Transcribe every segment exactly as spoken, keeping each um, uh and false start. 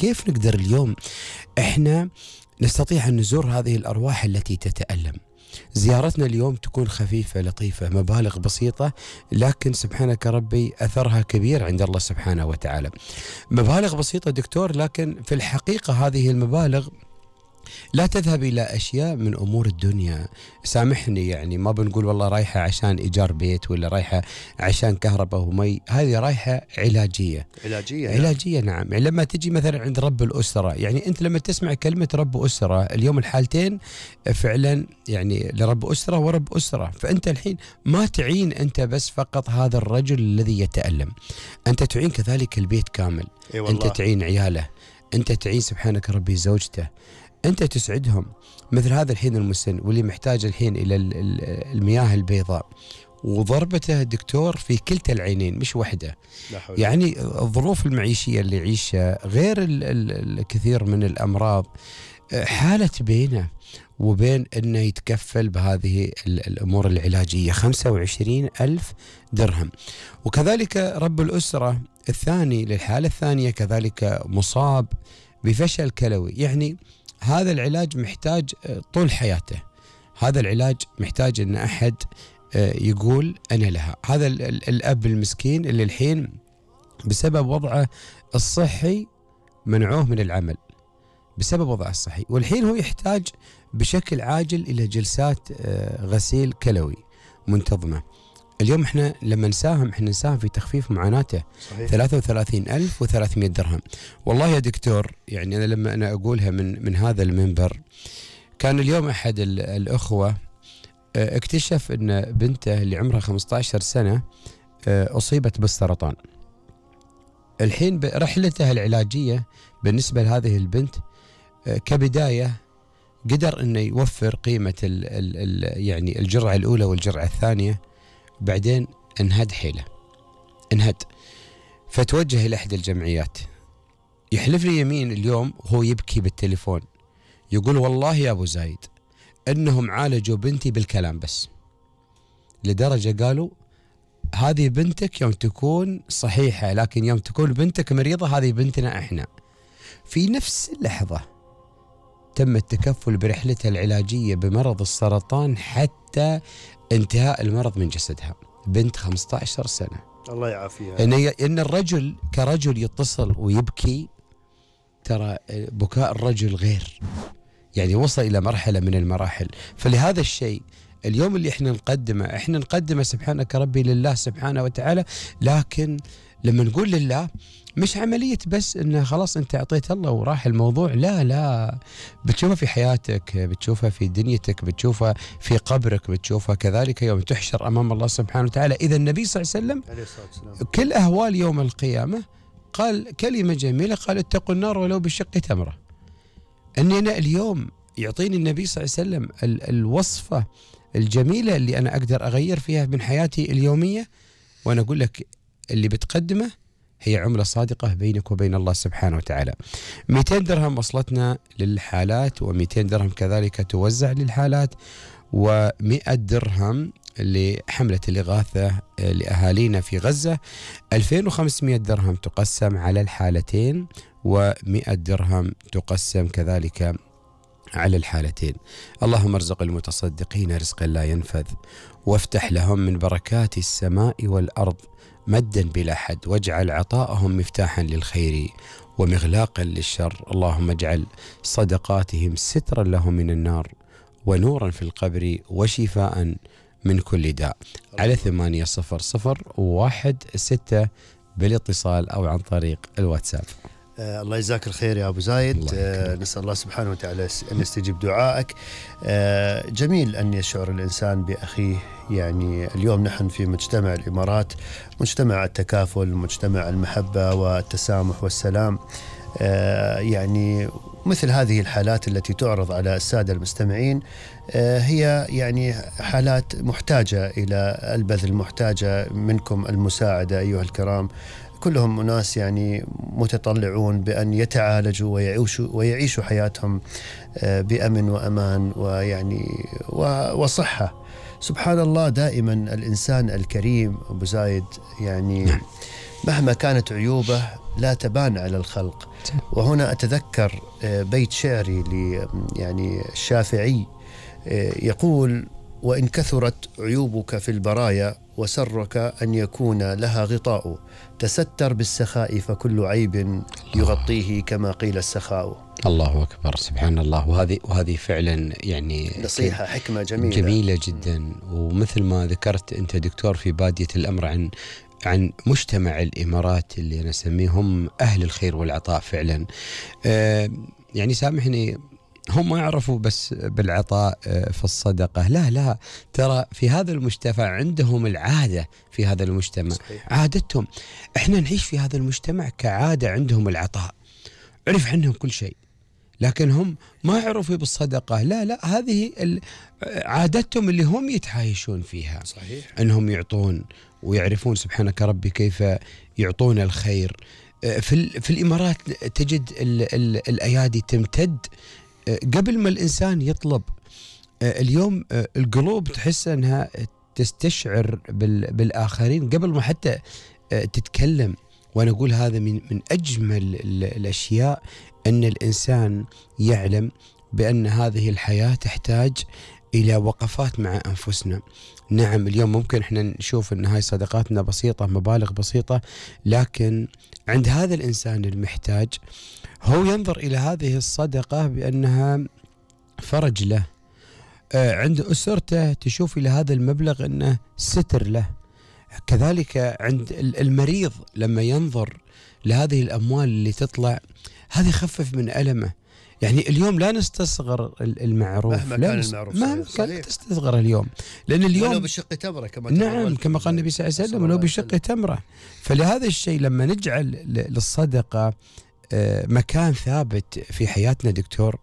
كيف نقدر اليوم إحنا نستطيع أن نزور هذه الأرواح التي تتألم؟ زيارتنا اليوم تكون خفيفة لطيفة، مبالغ بسيطة، لكن سبحانك ربي أثرها كبير عند الله سبحانه وتعالى. مبالغ بسيطة دكتور، لكن في الحقيقة هذه المبالغ لا تذهب إلى أشياء من أمور الدنيا. سامحني، يعني ما بنقول والله رايحة عشان إيجار بيت ولا رايحة عشان كهرباء ومي، هذه رايحة علاجية علاجية علاجية نعم. يعني لما تجي مثلا عند رب الأسرة، يعني أنت لما تسمع كلمة رب أسرة اليوم الحالتين فعلا يعني لرب أسرة ورب أسرة. فأنت الحين ما تعين أنت بس فقط هذا الرجل الذي يتألم، أنت تعين كذلك البيت كامل. أي أنت تعين عياله، أنت تعين سبحانك ربي زوجته، أنت تسعدهم. مثل هذا الحين المسن واللي محتاج الحين إلى المياه البيضاء وضربته دكتور في كلتا العينين مش واحدة. يعني الظروف المعيشية اللي يعيشها غير الكثير من الأمراض، حالة بينه وبين أنه يتكفل بهذه الأمور العلاجية خمسة وعشرين ألف درهم. وكذلك رب الأسرة الثاني للحالة الثانية كذلك مصاب بفشل كلوي، يعني هذا العلاج محتاج طول حياته، هذا العلاج محتاج أن أحد يقول أنا لها. هذا الأب المسكين اللي الحين بسبب وضعه الصحي منعوه من العمل بسبب وضعه الصحي، والحين هو يحتاج بشكل عاجل إلى جلسات غسيل كلوي منتظمة. اليوم احنا لما نساهم احنا نساهم في تخفيف معاناته. صحيح. ثلاثة وثلاثين ألف وثلاثمئة درهم. والله يا دكتور يعني أنا لما أنا أقولها من من هذا المنبر، كان اليوم أحد الأخوة اكتشف أن بنته اللي عمرها خمسة عشر سنة أصيبت بالسرطان. الحين برحلتها العلاجية بالنسبة لهذه البنت كبداية قدر أنه يوفر قيمة ال ال يعني الجرعة الأولى والجرعة الثانية، بعدين انهد حيله انهد فتوجه إلى إحدى الجمعيات. يحلف لي يمين اليوم وهو يبكي بالتليفون، يقول والله يا أبو زايد أنهم عالجوا بنتي بالكلام بس، لدرجة قالوا هذه بنتك يوم تكون صحيحة، لكن يوم تكون بنتك مريضة هذه بنتنا إحنا. في نفس اللحظة تم التكفل برحلتها العلاجية بمرض السرطان حتى انتهاء المرض من جسدها. بنت خمسة عشر سنة، الله يعافيها. إن, إن الرجل كرجل يتصل ويبكي، ترى بكاء الرجل غير، يعني وصل إلى مرحلة من المراحل. فلهذا الشيء اليوم اللي احنا نقدمه احنا نقدمه سبحانك ربي لله سبحانه وتعالى، لكن لما نقول لله مش عملية بس انه خلاص انت اعطيت الله وراح الموضوع، لا لا، بتشوفها في حياتك، بتشوفها في دنيتك، بتشوفها في قبرك، بتشوفها كذلك يوم تحشر امام الله سبحانه وتعالى. اذا النبي صلى الله عليه وسلم كل اهوال يوم القيامة قال كلمة جميلة، قال اتقوا النار ولو بشق تمرة. اني انا اليوم يعطيني النبي صلى الله عليه وسلم ال الوصفة الجميلة اللي انا اقدر اغير فيها من حياتي اليومية، وانا اقول لك اللي بتقدمه هي عملة صادقة بينك وبين الله سبحانه وتعالى. مئتين درهم وصلتنا للحالات، ومئتين درهم كذلك توزع للحالات، ومئة درهم لحملة الإغاثة لأهالينا في غزة، ألفين وخمسمئة درهم تقسم على الحالتين، ومئة درهم تقسم كذلك على الحالتين. اللهم ارزق المتصدقين رزقا لا ينفذ، وافتح لهم من بركات السماء والأرض مدا بلا حد، واجعل عطاءهم مفتاحا للخير ومغلاقا للشر. اللهم اجعل صدقاتهم سترا لهم من النار، ونورا في القبر، وشفاء من كل داء. على ثمانية صفر صفر واحد ستة بالاتصال أو عن طريق الواتساب. آه الله يجزاك الخير يا أبو زايد. آه نسأل الله سبحانه وتعالى أن يستجيب دعائك. آه جميل أن يشعر الإنسان بأخيه. يعني اليوم نحن في مجتمع الإمارات، مجتمع التكافل، مجتمع المحبة والتسامح والسلام. آه يعني مثل هذه الحالات التي تعرض على السادة المستمعين آه هي يعني حالات محتاجة إلى البذل، محتاجة منكم المساعدة أيها الكرام. كلهم أناس يعني متطلعون بأن يتعالجوا ويعيشوا, ويعيشوا حياتهم بأمن وأمان ويعني وصحة. سبحان الله، دائما الإنسان الكريم أبو زايد يعني مهما كانت عيوبه لا تبان على الخلق. وهنا أتذكر بيت شعري ل يعني الشافعي يقول: وإن كثرت عيوبك في البرايا وسرك أن يكون لها غطاء، تستر بالسخاء فكل عيب يغطيه كما قيل السخاء. الله أكبر، سبحان الله. وهذه وهذه فعلا يعني نصيحة حكمة جميلة جميلة جدا. ومثل ما ذكرت أنت دكتور في بادية الأمر عن عن مجتمع الإمارات اللي أنا أسميهم أهل الخير والعطاء فعلا. آه يعني سامحني، هم ما يعرفوا بس بالعطاء في الصدقة، لا لا، ترى في هذا المجتمع عندهم العادة، في هذا المجتمع صحيح. عادتهم، احنا نعيش في هذا المجتمع كعادة، عندهم العطاء، عرف عنهم كل شيء، لكن هم ما يعرفوا بالصدقة، لا لا، هذه عادتهم اللي هم يتعايشون فيها صحيح. انهم يعطون ويعرفون سبحانك ربي كيف يعطون الخير. في, في الإمارات تجد ال ال الأيادي تمتد قبل ما الإنسان يطلب. اليوم القلوب تحس أنها تستشعر بالآخرين قبل ما حتى تتكلم. وأنا أقول هذا من من أجمل الأشياء، أن الإنسان يعلم بأن هذه الحياة تحتاج إلى وقفات مع أنفسنا. نعم اليوم ممكن إحنا نشوف أن هاي صدقاتنا بسيطة، مبالغ بسيطة، لكن عند هذا الإنسان المحتاج هو ينظر إلى هذه الصدقة بأنها فرج له. عند أسرته تشوف إلى هذا المبلغ أنه ستر له. كذلك عند المريض لما ينظر لهذه الأموال اللي تطلع، هذه يخفف من ألمه. يعني اليوم لا نستصغر المعروف، مهما كان المعروف، مهما كان تستصغر اليوم، لأن اليوم ولو بشق تمرة كما نعم كما قال النبي صلى الله عليه وسلم، ولو بشق تمرة. فلهذا الشيء لما نجعل للصدقة مكان ثابت في حياتنا دكتور،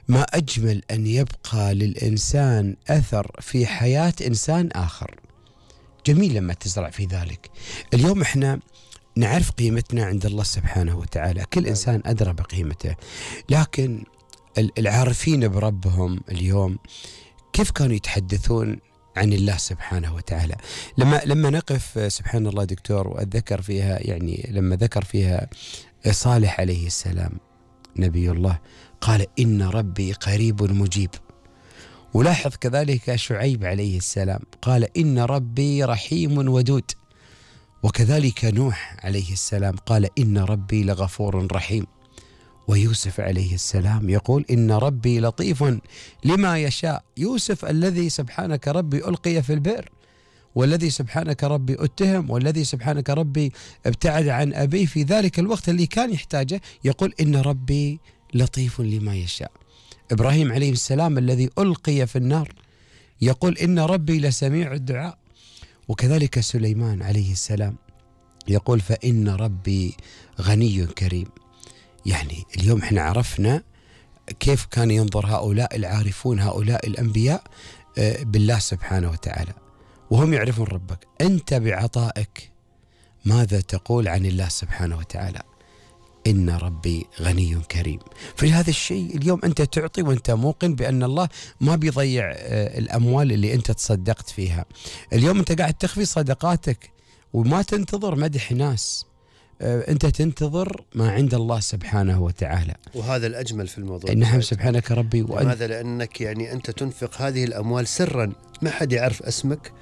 ما أجمل أن يبقى للإنسان أثر في حياة إنسان آخر. جميل لما تزرع في ذلك. اليوم إحنا نعرف قيمتنا عند الله سبحانه وتعالى، كل إنسان أدرى بقيمته، لكن العارفين بربهم اليوم كيف كانوا يتحدثون عن الله سبحانه وتعالى. لما لما نقف سبحان الله دكتور، وأتذكر فيها يعني لما ذكر فيها صالح عليه السلام نبي الله، قال إن ربي قريب مجيب. ولاحظ كذلك شعيب عليه السلام قال إن ربي رحيم ودود. وكذلك نوح عليه السلام قال إن ربي لغفور رحيم. ويوسف عليه السلام يقول إن ربي لطيف لما يشاء. يوسف الذي سبحانك ربي ألقي في البئر، والذي سبحانك ربي اتهم، والذي سبحانك ربي ابتعد عن أبيه في ذلك الوقت اللي كان يحتاجه، يقول إن ربي لطيف لما يشاء. إبراهيم عليه السلام الذي ألقي في النار يقول إن ربي لسميع الدعاء. وكذلك سليمان عليه السلام يقول فإن ربي غني كريم. يعني اليوم احنا عرفنا كيف كان ينظر هؤلاء العارفون، هؤلاء الأنبياء بالله سبحانه وتعالى، وهم يعرفون ربك. أنت بعطائك ماذا تقول عن الله سبحانه وتعالى؟ إن ربي غني كريم. فلهذا الشيء اليوم أنت تعطي وأنت موقن بأن الله ما بيضيع الأموال اللي أنت تصدقت فيها. اليوم أنت قاعد تخفي صدقاتك وما تنتظر مدح ناس، أنت تنتظر ما عند الله سبحانه وتعالى، وهذا الأجمل في الموضوع. نعم سبحانك ربي. لماذا؟ لأنك يعني أنت تنفق هذه الأموال سرا، ما حد يعرف اسمك،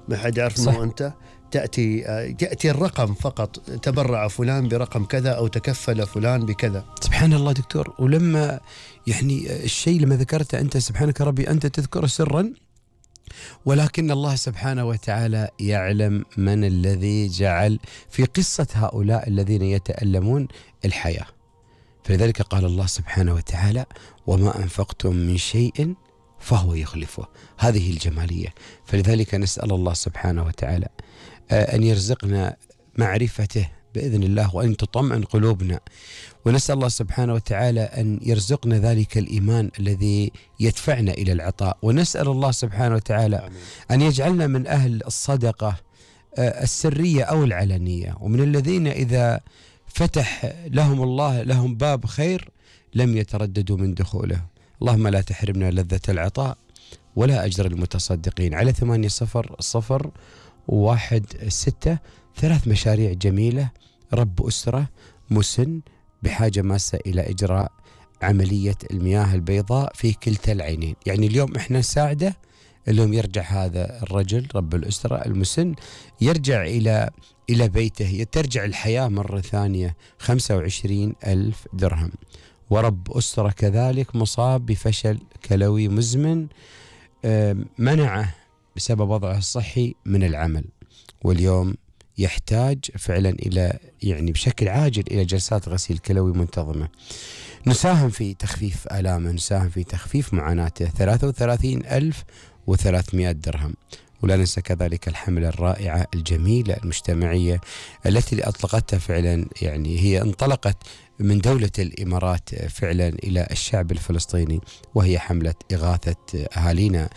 ما حد يعرف أنه أنت تأتي يأتي الرقم فقط، تبرع فلان برقم كذا أو تكفل فلان بكذا. سبحان الله دكتور. ولما يعني الشيء لما ذكرته أنت سبحانك ربي، أنت تذكر سرا، ولكن الله سبحانه وتعالى يعلم من الذي جعل في قصة هؤلاء الذين يتألمون الحياة. فلذلك قال الله سبحانه وتعالى وما أنفقتم من شيء فهو يخلفه. هذه الجمالية. فلذلك نسأل الله سبحانه وتعالى أن يرزقنا معرفته بإذن الله، وأن تطمئن قلوبنا، ونسأل الله سبحانه وتعالى أن يرزقنا ذلك الإيمان الذي يدفعنا إلى العطاء، ونسأل الله سبحانه وتعالى آمين. أن يجعلنا من أهل الصدقة السرية أو العلنية، ومن الذين إذا فتح لهم الله لهم باب خير لم يترددوا من دخوله. اللهم لا تحرمنا لذة العطاء ولا أجر المتصدقين. على ثمانية صفر صفر واحد ستة ثلاث مشاريع جميلة رب أسرة مسن بحاجة ماسة إلى إجراء عملية المياه البيضاء في كلتا العينين. يعني اليوم إحنا نساعده، اليوم يرجع هذا الرجل رب الأسرة المسن يرجع إلى إلى بيته، ترجع الحياة مرة ثانية، خمسة وعشرين ألف درهم. ورب أسرة كذلك مصاب بفشل كلوي مزمن منعه بسبب وضعه الصحي من العمل، واليوم يحتاج فعلا إلى يعني بشكل عاجل إلى جلسات غسيل كلوي منتظمة. نساهم في تخفيف آلامه، نساهم في تخفيف معاناته، ثلاثة وثلاثين ألف وثلاثمائة درهم. ولا ننسى كذلك الحملة الرائعة الجميلة المجتمعية التي أطلقتها فعلا، يعني هي انطلقت من دولة الإمارات فعلا إلى الشعب الفلسطيني، وهي حملة إغاثة أهالينا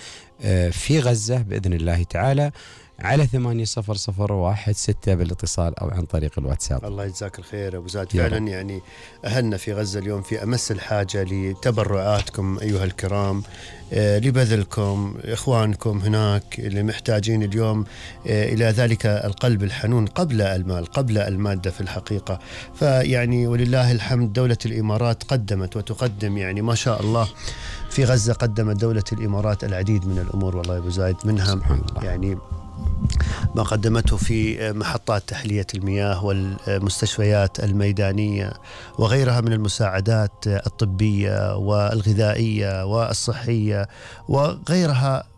في غزة بإذن الله تعالى، على ثمانية صفر صفر واحد ستة بالاتصال أو عن طريق الواتساب. الله يجزاك الخير أبو زايد. فعلا يعني أهلنا في غزة اليوم في أمس الحاجة لتبرعاتكم أيها الكرام، آه لبذلكم، إخوانكم هناك اللي محتاجين اليوم آه إلى ذلك القلب الحنون قبل المال، قبل المادة في الحقيقة. فيعني ولله الحمد دولة الإمارات قدمت وتقدم، يعني ما شاء الله في غزة قدمت دولة الإمارات العديد من الأمور والله يا أبو زايد، منها يعني ما قدمته في محطات تحلية المياه والمستشفيات الميدانية وغيرها من المساعدات الطبية والغذائية والصحية وغيرها،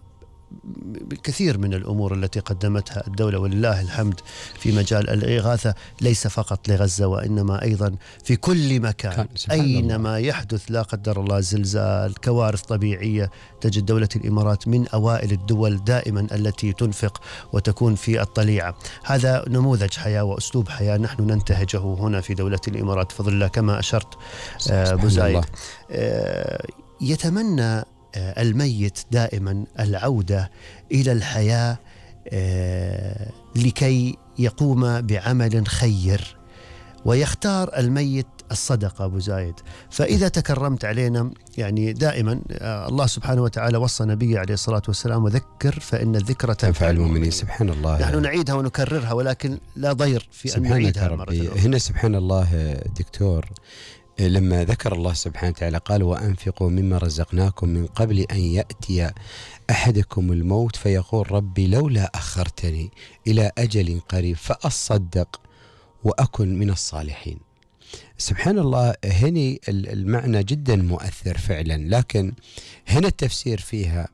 الكثير من الأمور التي قدمتها الدولة ولله الحمد في مجال الإغاثة، ليس فقط لغزة وإنما أيضا في كل مكان أينما يحدث لا قدر الله زلزال، كوارث طبيعية، تجد دولة الإمارات من أوائل الدول دائما التي تنفق وتكون في الطليعة. هذا نموذج حياة وأسلوب حياة نحن ننتهجه هنا في دولة الإمارات بفضل الله كما أشرت أبو زايد. يتمنى الميت دائما العودة إلى الحياة لكي يقوم بعمل خير، ويختار الميت الصدقة أبو زايد. فإذا تكرمت علينا يعني دائما الله سبحانه وتعالى وصى نبيه عليه الصلاة والسلام وذكر فإن الذكرى تنفع المؤمنين. سبحان الله، نحن نعيدها ونكررها ولكن لا ضير في أن نعيدها مرة أخرى. هنا سبحان الله دكتور، لما ذكر الله سبحانه وتعالى قال وأنفقوا مما رزقناكم من قبل أن يأتي أحدكم الموت فيقول ربي لولا أخرتني إلى أجل قريب فأصدق وأكن من الصالحين. سبحان الله، هنا المعنى جدا مؤثر فعلا، لكن هنا التفسير فيها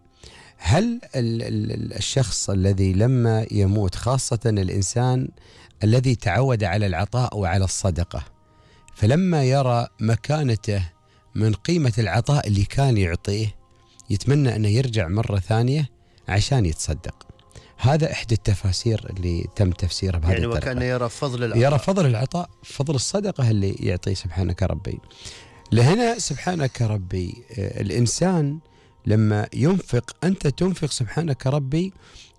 هل الشخص الذي لما يموت، خاصة الإنسان الذي تعود على العطاء وعلى الصدقة، فلما يرى مكانته من قيمة العطاء اللي كان يعطيه يتمنى أنه يرجع مرة ثانية عشان يتصدق. هذا إحدى التفاسير اللي تم تفسيرها بهذه يعني الطريقة. وكان يرى فضل العطاء، يرى فضل العطاء، فضل الصدقة اللي يعطيه سبحانك ربي. لهنا سبحانك ربي الإنسان لما ينفق، أنت تنفق سبحانك ربي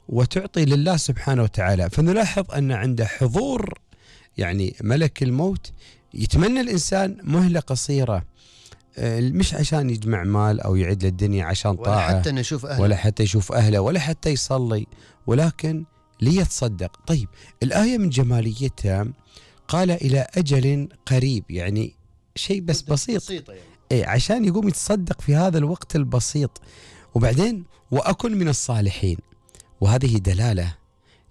وتعطي لله سبحانه وتعالى، فنلاحظ أن عنده حضور يعني ملك الموت. يتمنى الإنسان مهلة قصيرة، مش عشان يجمع مال أو يعد للدنيا عشان طاعة، ولا حتى نشوف أهله، ولا حتى يشوف أهله، ولا حتى يصلي، ولكن ليتصدق. طيب الآية من جماليتها قال إلى أجل قريب، يعني شيء بس بسيط، بسيطة يعني. إيه عشان يقوم يتصدق في هذا الوقت البسيط. وبعدين وأكن من الصالحين، وهذه دلالة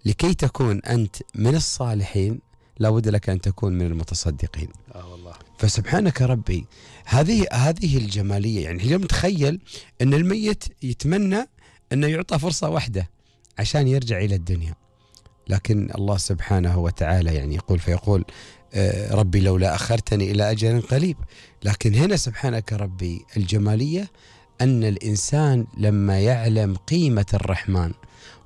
لكي تكون أنت من الصالحين لابد لك أن تكون من المتصدقين. آه والله. فسبحانك ربي هذه هذه الجمالية. يعني اليوم تخيل أن الميت يتمنى أنه يعطى فرصة واحدة عشان يرجع إلى الدنيا، لكن الله سبحانه وتعالى يعني يقول فيقول آه ربي لولا أخرتني إلى أجل قريب. لكن هنا سبحانك ربي الجمالية أن الإنسان لما يعلم قيمة الرحمن،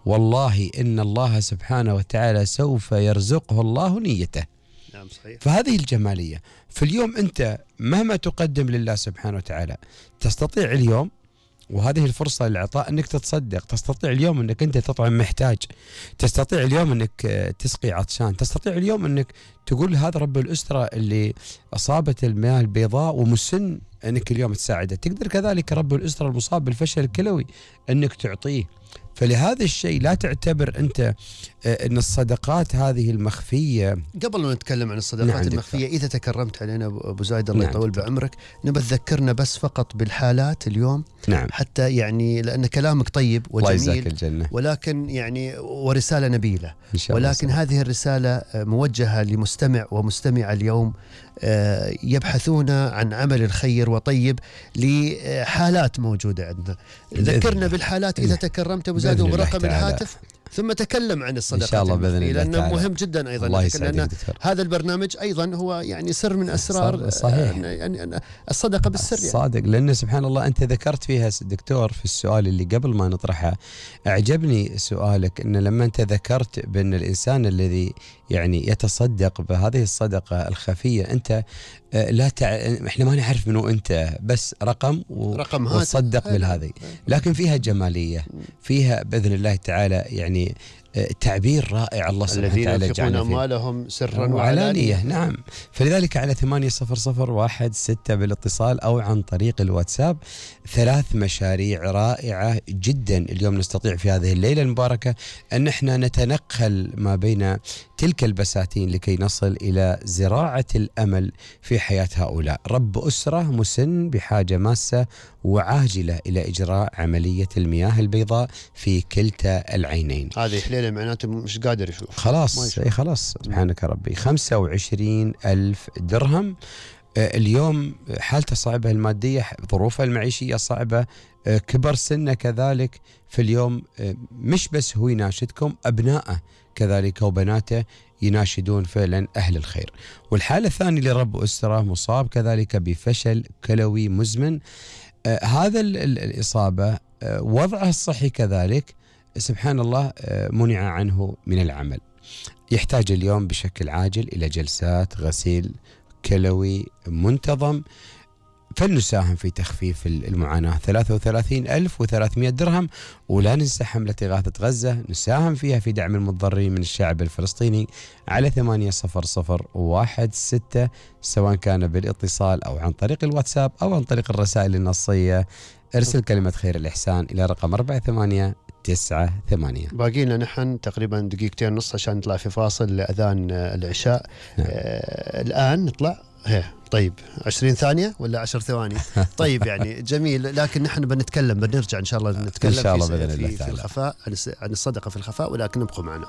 والله إن الله سبحانه وتعالى سوف يرزقه الله نيته. نعم صحيح. فهذه الجمالية. في اليوم أنت مهما تقدم لله سبحانه وتعالى تستطيع اليوم، وهذه الفرصة للعطاء، أنك تتصدق، تستطيع اليوم أنك أنت تطعم محتاج، تستطيع اليوم أنك تسقي عطشان، تستطيع اليوم أنك تقول هذا رب الأسرة اللي أصابت المياه البيضاء ومسن أنك اليوم تساعده. تقدر كذلك رب الأسرة المصاب بالفشل الكلوي أنك تعطيه. فلهذا الشيء لا تعتبر أنت أن الصدقات هذه المخفية. قبل ما نتكلم عن الصدقات نعم المخفية دكتور. إذا تكرمت علينا أبو زايد الله نعم يطول دكتور. بعمرك، نبى تذكرنا بس فقط بالحالات اليوم نعم. حتى يعني لأن كلامك طيب وجميل الجنة. ولكن يعني ورسالة نبيلة، ولكن الله. هذه الرسالة موجهة لمستمع ومستمع اليوم يبحثون عن عمل الخير وطيب لحالات موجودة عندنا. ذكرنا بالحالات إذا تكرمت أبو زايد وبرقم الهاتف، ثم تكلم عن الصدقات إن شاء الله بإذن الله لأنه تعالى. مهم جدا أيضا، لأن هذا البرنامج أيضا هو يعني سر من أسرار صحيح. يعني الصدقة بالسر يعني. صادق، لأن سبحان الله أنت ذكرت فيها دكتور في السؤال اللي قبل ما نطرحه، أعجبني سؤالك أن لما أنت ذكرت بأن الإنسان الذي يعني يتصدق بهذه الصدقة الخفية، أنت لا تع... احنا ما نعرف منو انت، بس رقم و... رقم وتصدق بالهذه، لكن فيها جماليه، فيها باذن الله تعالى يعني تعبير رائع الله سبحانه وتعالى الذين ينفقون أموالهم سرا وعلانية. نعم، فلذلك على ثمانية صفر صفر واحد ستة بالاتصال أو عن طريق الواتساب ثلاث مشاريع رائعة جدا اليوم نستطيع في هذه الليلة المباركة أن احنا نتنقل ما بين تلك البساتين لكي نصل إلى زراعة الأمل في حياة هؤلاء. رب أسرة مسن بحاجة ماسة وعاجلة إلى إجراء عملية المياه البيضاء في كلتا العينين. هذه حليلة معناته مش قادر يشوف، خلاص أي خلاص سبحانك ربي. خمسة وعشرين ألف درهم. اليوم حالته صعبة المادية، ظروفه المعيشية صعبة، كبر سنه كذلك. في اليوم مش بس هو يناشدكم، أبنائه كذلك وبناته يناشدون فعلا أهل الخير. والحالة الثانية لرب أسرة مصاب كذلك بفشل كلوي مزمن. آه هذا الإصابة آه وضعه الصحي كذلك سبحان الله آه منع عنه من العمل. يحتاج اليوم بشكل عاجل إلى جلسات غسيل كلوي منتظم، فلنساهم في تخفيف المعاناة. ثلاثة وثلاثين ألف وثلاثمائة درهم. ولا ننسى حملة إغاثة غزة نساهم فيها في دعم المضطرين من الشعب الفلسطيني على ثمانية صفر صفر واحد ستة، سواء كان بالاتصال أو عن طريق الواتساب أو عن طريق الرسائل النصية. ارسل كلمة خير الإحسان إلى رقم أربعة ثمانية تسعة ثمانية. باقي لنا نحن تقريبا دقيقتين ونص عشان نطلع في فاصل لأذان العشاء. نعم. آه الآن نطلع هي طيب عشرين ثانية ولا عشر ثواني؟ طيب يعني جميل، لكن نحن بنتكلم بنرجع إن شاء الله نتكلم إن شاء الله في, بإذن الله في, في الخفاء عن الصدقة في الخفاء، ولكن ابقوا معنا.